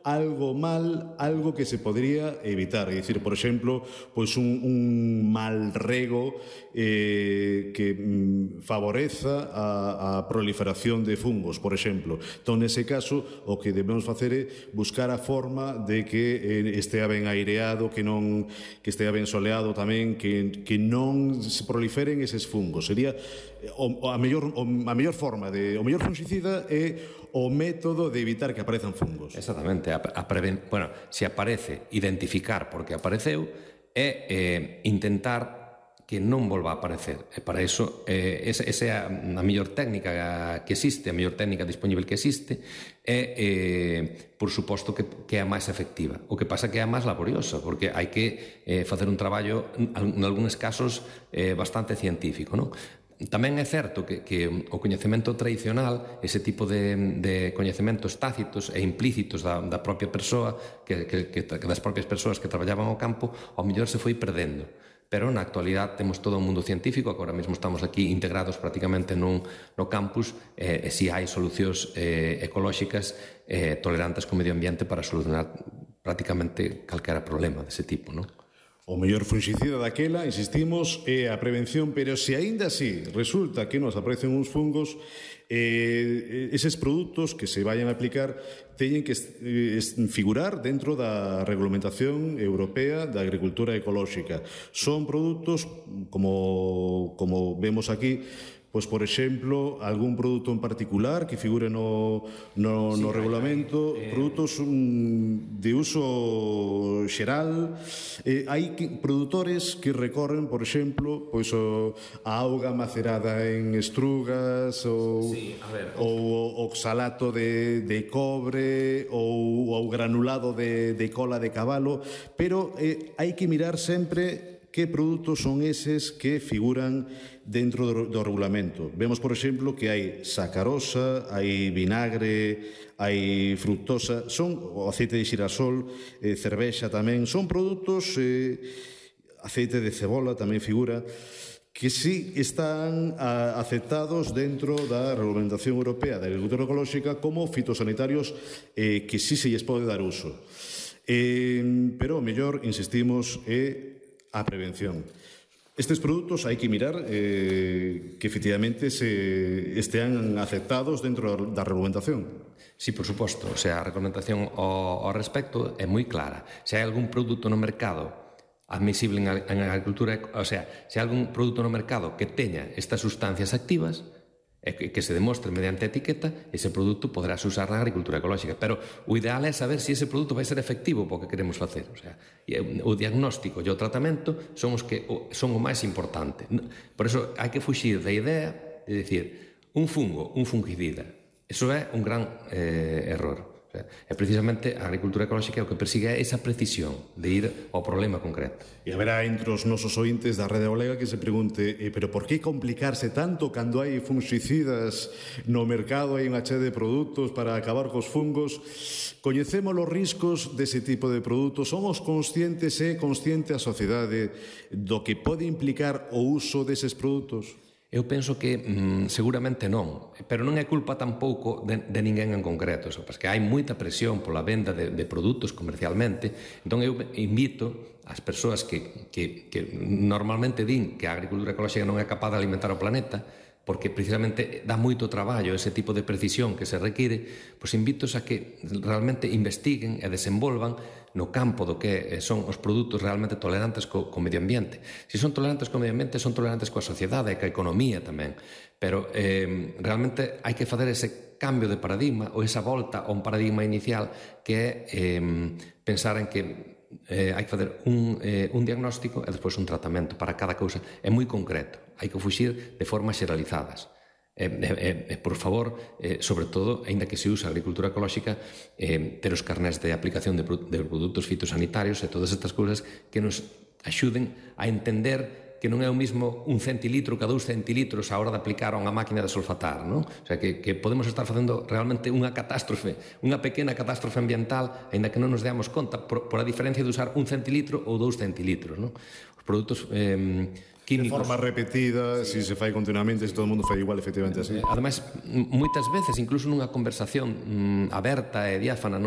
algo mal, algo que se podría evitar. É dicir, por exemplo, pois un mal rego que favoreza a proliferación de fungos, por exemplo. Entón, nese caso, o que debemos facer é buscar a forma de que estea ben aireado, que estea ben soleado tamén, que non se proliferen eses fungos. Sería a mellor forma, o mellor fungicida é o método de evitar que aparezan fungos. Exactamente. Bueno, se aparece, identificar por que apareceu e intentar que non volva a aparecer. E para iso, esa é a mellor técnica que existe, a mellor técnica dispoñible que existe, e, por suposto, que é a máis efectiva. O que pasa que é a máis laboriosa, porque hai que facer un traballo, en algúns casos, bastante científico, non? Tamén é certo que o coñecemento tradicional, ese tipo de coñecementos tácitos e implícitos da propia persoa, das propias persoas que traballaban ao campo, ao mellor se foi perdendo. Pero na actualidade temos todo un mundo científico, agora mesmo estamos aquí integrados prácticamente no campus, e si hai solucións ecolóxicas tolerantes co medio ambiente para solucionar prácticamente calquera problema dese tipo, non? O mellor fungicida daquela, insistimos, é a prevención, pero se aínda así resulta que nos aparecen uns fungos, eses produtos que se vayan a aplicar teñen que figurar dentro da regulamentación europea da agricultura ecolóxica. Son produtos, como vemos aquí, pois, por exemplo, algún produto en particular que figure no regulamento, produtos de uso xeral. Hai produtores que recorren, por exemplo, pois a auga macerada en estrugas ou oxalato de cobre ou o granulado de cola de cabalo, pero hai que mirar sempre que produtos son eses que figuran dentro do regulamento. Vemos, por exemplo, que hai sacarosa, hai vinagre, hai fructosa, o aceite de xirasol, cervexa tamén, son produtos, aceite de cebola tamén figura, que sí están aceptados dentro da regulamentación europea da agricultura ecolóxica como fitosanitarios que sí se lles pode dar uso. Pero o mellor, insistimos, é a prevención. Estes produtos hai que mirar que efectivamente estean aceptados dentro da regulamentación. Sí, por suposto. O sea, a regulamentación ao respecto é moi clara. Se hai algún produto no mercado admisible en agricultura, o sea, se hai algún produto no mercado que teña estas sustancias activas, que se demostre mediante a etiqueta, ese produto poderás usar na agricultura ecolóxica. Pero o ideal é saber se ese produto vai ser efectivo para o que queremos facer. O sea, o diagnóstico e o tratamento son o máis importante. Por iso hai que fuxir da idea de dicir un fungo, un fungicida. Eso é un gran error. E precisamente a agricultura ecolóxica o que persigue é esa precisión de ir ao problema concreto. E haberá entre os nosos ointes da Rede Galega que se pregunte pero por que complicarse tanto cando hai fungicidas no mercado, hai unha chea de produtos para acabar cos fungos? Coñecemos os riscos dese tipo de produtos? Somos conscientes consciente a sociedade do que pode implicar o uso deses produtos? Eu penso que seguramente non, pero non é culpa tampouco de ninguén en concreto, porque hai moita presión pola venda de produtos comercialmente. Entón eu invito as persoas que normalmente din que a agricultura ecolóxica non é capaz de alimentar o planeta, porque precisamente dá moito traballo ese tipo de precisión que se require, pois invitos a que realmente investiguen e desenvolvan no campo do que son os produtos realmente tolerantes co medio ambiente. Se son tolerantes co medio ambiente, son tolerantes coa sociedade e coa economía tamén. Pero realmente hai que facer ese cambio de paradigma ou esa volta a un paradigma inicial que é pensar en que hai que facer un diagnóstico e despois un tratamento para cada cousa. É moi concreto, hai que fuxir de formas xeralizadas. Por favor, sobre todo, aínda que se usa a agricultura ecolóxica, ter os carnés de aplicación de produtos fitosanitarios e todas estas cousas que nos axuden a entender que non é o mismo un centilitro que 2 centilitros a hora de aplicar a unha máquina de sulfatar, non? O sea, que podemos estar facendo realmente unha catástrofe, unha pequena catástrofe ambiental, aínda que non nos deamos conta, por a diferencia de usar 1 centilitro ou 2 centilitros, non? Os produtos químicos... De forma repetida, se fai continuamente, se todo o mundo fai igual, efectivamente así. Ademais, moitas veces, incluso nunha conversación aberta e diáfana